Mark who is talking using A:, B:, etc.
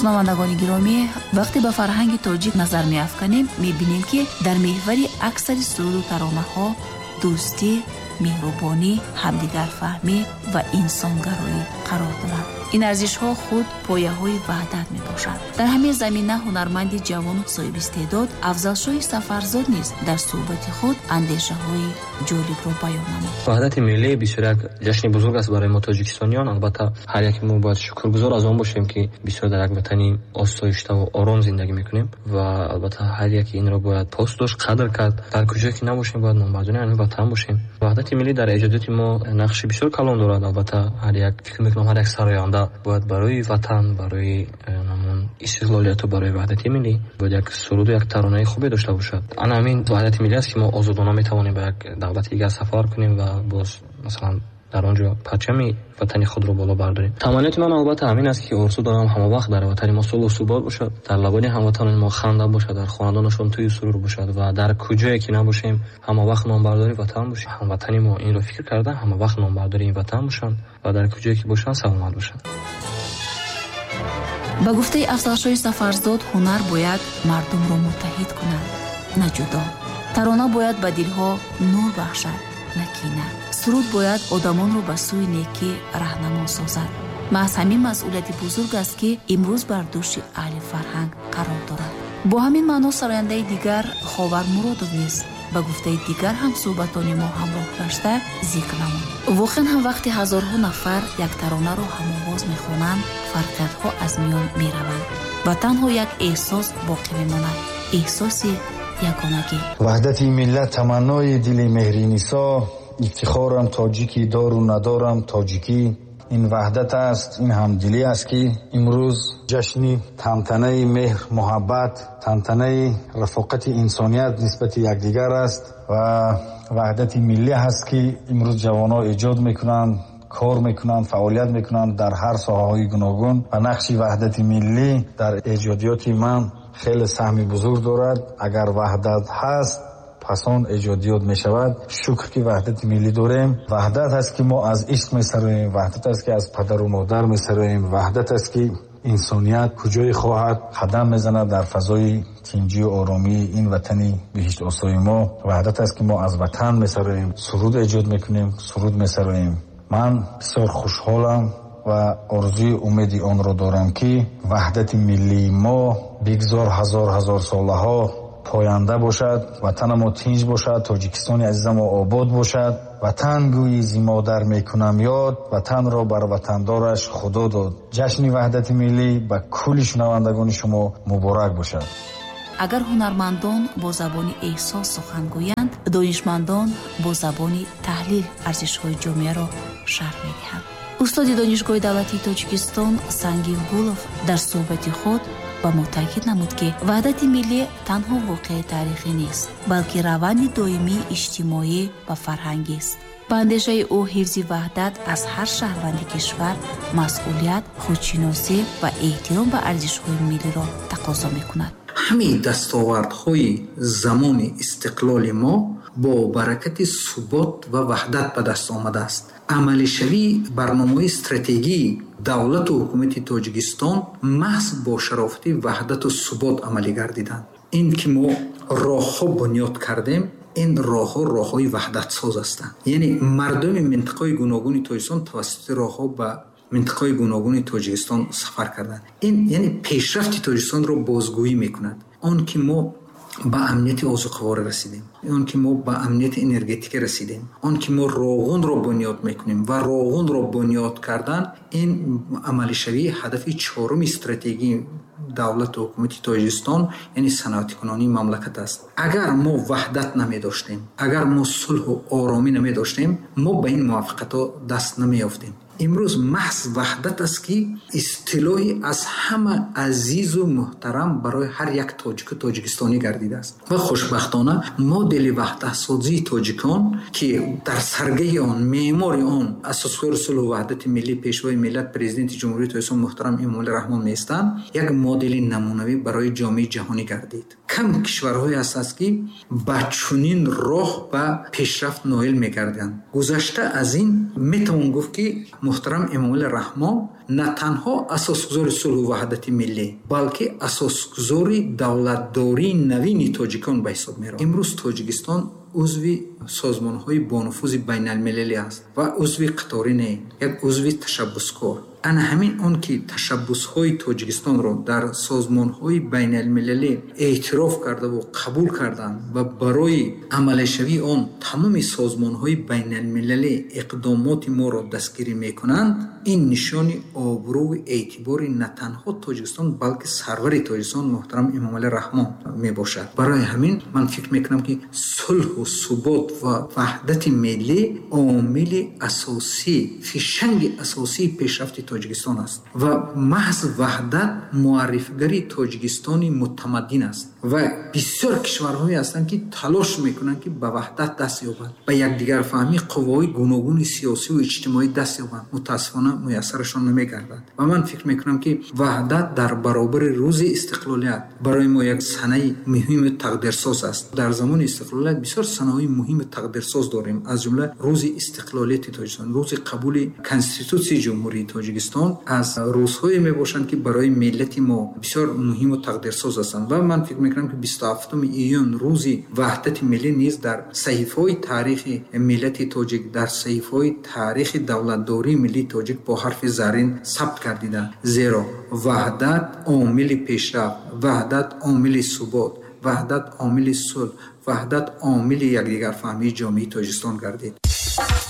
A: Шунавандагони гиромӣ, вақте ба фарҳанги тоҷик назар меафканем, мебинем, ки дар меҳвари аксари суруду таронаҳо дӯстӣ, меҳрубонӣ, ҳамдигарфаҳмӣ ва инсонгароӣ қарор дорад. Ин арзишҳо худ пояҳои ваҳдат мебошанд. Дар ҳамин замина ҳунарманди ҷавону соҳибистеъдод Афзалшоҳи Сафарзод низ дар суҳбати худ андешаҳои ҷолибро баён намуд.
B: Ваҳдати миллӣ бисёр як ҷашни бузург аст барои мо тоҷикистониён. Албатта, ҳар яке мо бояд шукргузор аз он бошем, ки бисёр дар як ватани осоиштаву ором зиндагӣ мекунем ва албатта ҳар яке инро бояд пос дошт, қадр кард. Дар куҷое ки набошем, бояд номбардори ҳамин ватан бошем. Ваҳдати миллӣ дар эҷодиёти мо нақши бисёр калон дорад. Албатта, ҳар як, фикр мекунам, ҳар як сароянда бояд барои ватан, барои ҳамон истиқлолияту барои ваҳдати миллӣ бояд як суруду як таронаи хубе дошта бошад. Ана ҳамин ваҳдати миллӣ аст, ки мо озодона метавонем ба як давлати дигар сафар кунем ва боз, масалан, дар он ҷо парчами ватани худро боло бардорем. Таманниёти ман албатта ҳамин аст, ки орзу дорам ҳама вақт дар ватани мо сулҳу субот бошад, дар лабони ҳамватанони мо ханда бошад, дар хонадонашон тӯю сурур бошад ва дар куҷое ки набошем, ҳама вақт номбардори ватан бошем. Ҳамватани мо инро фикр карда, ҳама вақт номбардори ин ватан бошанд ва дар куҷое ки бошанд, саломат бошанд.
A: Ба гуфтаи Афзалшоҳи Сафарзод, ҳунар бояд мардумро муттаҳид кунад, на ҷудо. Тарона бояд ба дилҳо нур бахшад, на кина. Суруд бояд одамонро ба сӯи некӣ раҳнамо созад. Маҳз ҳамин масъулияти бузург аст, ки имрӯз бар дӯши аҳли фарҳанг қарор дорад. Бо ҳамин маъно сарояндаи дигар Ховар Муродов низ ба гуфтаи дигар ҳамсӯҳбатони мо ҳамроҳ гашта зикр намуд. Воқеан ҳам, вақте ҳазорҳо нафар як таронаро ҳамовоз мехонанд, фарқиятҳо аз миён мераванд ва танҳо як эҳсос боқӣ мемонад, эҳсоси ягонагӣ.
C: Ваҳдати миллат таманнои дили Меҳринисо, ифтихорам тоҷикӣ, дору надорам тоҷикӣ. Ин ваҳдат аст, ин ҳамдилӣ аст, ки имрӯз ҷашни тантанаи меҳр, муҳаббат, тантанаи рафоқати инсоният нисбати якдигар аст ва ваҳдати миллӣ ҳаст, ки имрӯз ҷавонҳо эҷод мекунанд, кор мекунанд, фаъолият мекунанд дар ҳар соҳаҳои гуногун ва нақши ваҳдати миллӣ дар эҷодиёти ман хеле саҳми бузург дорад. Агар ваҳдат ҳаст, пас он эҷодиёт мешавад. Шукр, ки ваҳдати миллӣ дорем. Ваҳдат ҳаст, ки мо аз ишқ месароем, ваҳдат аст, ки аз падару модар месароем, ваҳдат аст, ки инсоният куҷое хоҳад қадам мезанад дар фазои тинҷию оромии ин ватани биҳиштосои мо. Ваҳдат аст, ки мо аз ватан месароем, суруд эҷод мекунем, суруд месароем. Ман бисёр хушҳолам ва орзуи умеди онро дорам, ки ваҳдати миллии мо бигзор ҳазор ҳазор солаҳо поянда бошад, ватанамо тинҷ бошад, Тоҷикистони азизамо обод бошад. Ватан гӯи зи модар мекунам ёд, ватанро бар ватандораш Худо дод. Ҷашни ваҳдати миллӣ ба кулли шунавандагони шумо муборак бошад.
A: Агар ҳунармандон бо забони эҳсос сухан гӯянд, донишмандон бо забони таҳлил арзишҳои ҷомеаро шарҳ медиҳанд. Устоди Донишгоҳи давлатии Тоҷикистон Сангин Гулов дар суҳбати худ ба мо таъкид намуд, ки ваҳдати миллӣ танҳо воқеаи таърихӣ нест, балки раванди доимии иҷтимоӣ ва фарҳангист. Ба андешаи ӯ, ҳифзи ваҳдат аз ҳар шаҳрванди кишвар масъулият, худшиносӣ ва эҳтиром ба арзишҳои миллиро тақозо мекунад.
D: Ҳамаи дастовардҳои замони истиқлоли мо бо баракати субот ва ваҳдат ба даст омадааст. Амалишавии барномаҳои стратегии давлату ҳукумати Тоҷикистон маҳз бо шарофати ваҳдату субот амалӣ гардиданд. Ин ки мо роҳҳо бунёд кардем, ин роҳҳо роҳҳои ваҳдатсоз ҳастанд. Яъне мардуми минтақаҳои гуногуни Тоҷикистон тавассути роҳҳо ба минтақаҳои гуногуни Тоҷикистон сафар карданд. Ин яъне пешрафти Тоҷикистонро бозгӯӣ мекунад. Он ки мо ба амнияти озуқаворӣ расидем, он ки мо ба амнияти энергетикӣ расидем, он ки мо Роғунро бунёд мекунем ва Роғунро бунёд кардан ин амалишавии ҳадафи чоруми стратегии давлату ҳукумати Тоҷикистон, яъне саноатикунонии мамлакат аст. Агар мо ваҳдат намедоштем, агар мо сулҳу оромӣ намедоштем, мо ба ин муваффақиятҳо даст намеёфтем. Имрӯз маҳз ваҳдат аст, ки истилоҳи аз ҳама азизу муҳтарам барои ҳар як тоҷику тоҷикистонӣ гардидааст ва хушбахтона модели ваҳдатсозии тоҷикон, ки дар саргаҳи он, меъмори он асосгузори сулҳу ваҳдати миллӣ, Пешвои миллат, Президенти Ҷумҳурии Тоҷикистон муҳтарам Эмомалӣ Раҳмон меистанд, як модели намунавӣ барои ҷомеаи ҷаҳонӣ гардид. Кам кишварҳое ҳастанд, ки ба чунин роҳ ба пешрафт ноил мегарданд. Гузашта аз ин, метавон гуфт, ки Муҳтарам Эмомалӣ Раҳмон на танҳо асосгузори сулҳу ваҳдати миллӣ, балки асосгузори давлатдории навини тоҷикон ба ҳисоб меравад. Имрӯз Тоҷикистон узви созмонҳои бонуфузи байналмилалӣ аст ва узви қаторӣ не, як узви ташаббускор. Ана ҳамин он ки ташаббусҳои Тоҷикистонро дар созмонҳои байналмилалӣ эътироф кардаву қабул карданд ва барои амалишавии он тамоми созмонҳои байналмилалӣ иқдомоти моро дастгирӣ мекунанд, ин нишони обрӯву эътибори на танҳо Тоҷикистон, балки сарвари Тоҷикистон муҳтарам Эмомалӣ Раҳмон мебошад. Барои ҳамин ман фикр мекунам, ки сулҳу субот ва ваҳдати миллӣ омили асосӣ, фишанги асосии пешрафти Тоҷикистон аст ва маҳз ваҳдат муаррифгари Тоҷикистони мутамаддин аст. Ва бисёр кишварҳое ҳастанд, ки талош мекунанд, ки ба ваҳдат даст ёбанд, ба якдигарфаҳмии қувваҳои гуногуни сиёсиву иҷтимоӣ даст ёбанд. Мутаассифона, муяссарашон намегардад. Ва ман фикр мекунам, ки ваҳдат дар баробари рӯзи истиқлолият барои мо як санаи муҳиму тақдирсоз аст. Дар замони истиқлолият бисёр санаҳои муҳиму тақдирсоз дорем, аз ҷумла рӯзи истиқлолияти Тоҷикистон, рӯзи қабули Конститутсияи Ҷумҳурии Тоҷикистон аз рӯзҳое мебошанд, ки барои миллати мо бисёр муҳиму тақдирсоз ҳастанд. Ва ман фикр мекунам, ки 27 июн, рӯзи ваҳдати миллӣ низ дар саҳифаҳои таърихи миллати тоҷик, дар саҳифаҳои таърихи давлатдории миллии тоҷик бо ҳарфи заррин сабт гардида, зеро ваҳдат омили пешрафт, ваҳдат омили субот, ваҳдат омили сулҳ, ваҳдат омили якдигарфаҳмии ҷомеаи Тоҷикистон гардид.